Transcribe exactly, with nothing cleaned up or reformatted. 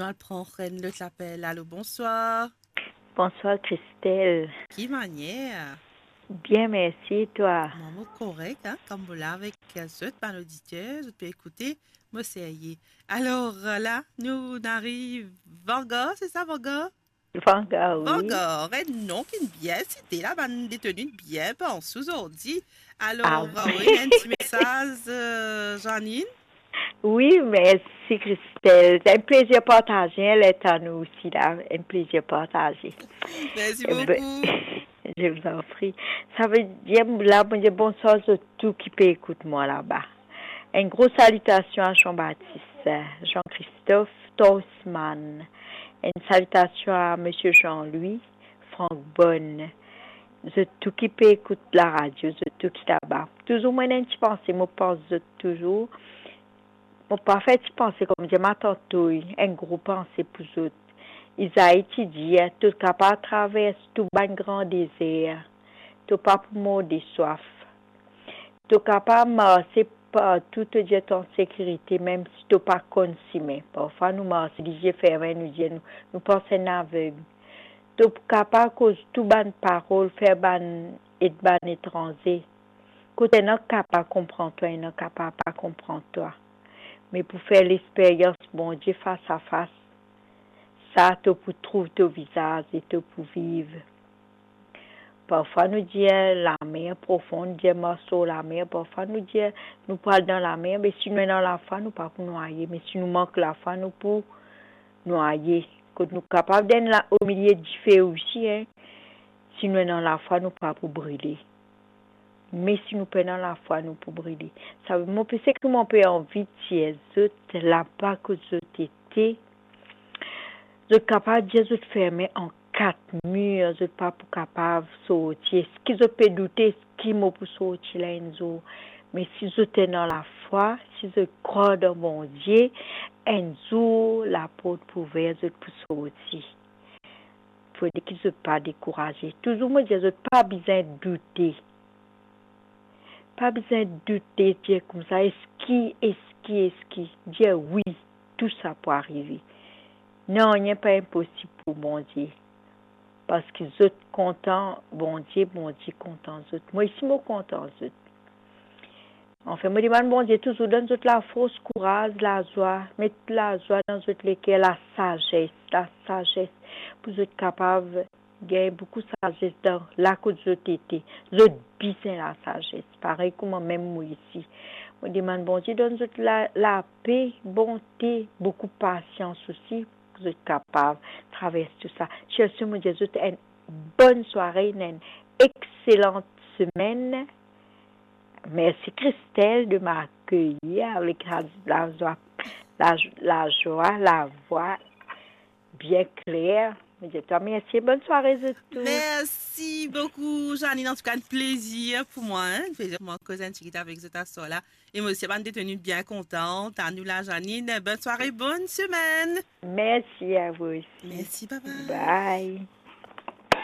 Nou al pran enn lot lapel. Alo, bonswar. Bonswar, Christelle. Ki manier? Bien, mersi, e twa? Mwa, mo korek, hein, kan mo la avek zot, bann oditer, zot pe ekoute, mo serye. Alor, la, nou, nou ariv Vangar, se sa, Vangar? Vangar, wi. Vangar, enn nom ki bien site la, bann deteni bien panse ozordi. Alor, ah, wi, enn ti mesaz, euh, Janine? Wi, mersi, Christelle. Enn plezir partaze, hein, letan nou osi la. Enn plezir partaze. Mersi boukou. Eh ben, je vous en prie. Savedir, la, mo dir bonswar zot tou ki pe ekout mwa laba. Enn gro salitasion a Jean-Baptiste, Jean-Christophe, Tosman. Enn salitasion a Misie Jean-Louis, Franck Bonne. Zot tou ki pe ekout laradio, zot tou ki laba. Touzour mo ena enn ti panse, mo pans zot touzour. Mo pa fer ti panse, kouma dir, mo tanto, enn gro panse pou zot. Izai ti dir, to kapav travers tou bann gran dezer, to pa pou mor de swaf. To kapav marse partou, to dir to an sekirite, mem si to pa konn sime. Parfwa nou marse lizie ferme, nou dir nou, nou pans enn aveg. To kapav koz tou bann parol, fer bann, ed bann etranze. Kot ena kapav konpran twa, ena kapav pa konpran twa. Me pou fer lesperyans Bondie fas a fas, sa to pou trouv to vizaz e to pou viv. Parfwa nou dir lamer profon, dir mars lor lamer, parfwa nou dir nou pou al dan lamer, me si nou ena lafwa, nou pa pou nwaye, me si nou mank lafwa, nou pou nwaye. Kot nou kapav dan la, omilie dife osi, hein. Si nou ena lafwa, nou pa pou brile. Me si nou pena lafwa, nou pou brile. Sa, mo pe, seki mo pe anvi dir zot, laba kot zot ete, zot kapav dir zot ferme an kat mir, zot pa pou kapav sorti. Eski zot pe doute, eski mo pou sorti la enn zour? Me si zot ena lafwa, si zot krwar dan Bondie, enn zour laport pou ouver, zot pou sorti. Fode ki zot pa dekouraze. Touzour mo dir zot pa bizin doute. Pa bizin doute, dir koumsa, eski, eski, eski. Dir wi, tou sa pou arive. Nanye pa inposib pou Bondie. Parski zot kontan Bondie, Bondie kontan zot. Mwa osi mo kontan zot. Anfin, mo demann Bondie touzour donn zot lafors, kouraz, lazwa, met lazwa dan zot leker, lasazes, lasazes, pou zot kapav gagn boukou sazes dan la kot zot ete. Zot bizin lasazes, parey kouma mem mwa osi. Mo demann Bondie donn zot la, lape, bonte, boukou pasians osi, pou zot kapav travers tou sa. Cherche, mo dir zot enn bonn sware, enn exelan semenn. Mersi Christelle de m'accueillir avec la, lazwa, la, lazwa, lavwa bien kler. Mo dir twa mersi, bonn sware zot tou. Mersi boukou, Janine. Antouka, enn plezir pou mwa, hein, enn plezir pou mwa koz enn tigit avek zot aswar la. E mo osi, bann deteni bien kontan. Anou la, Janine, bonn sware, bonn semenn. Mersi a vou osi. Mersi, bye bye. Bye.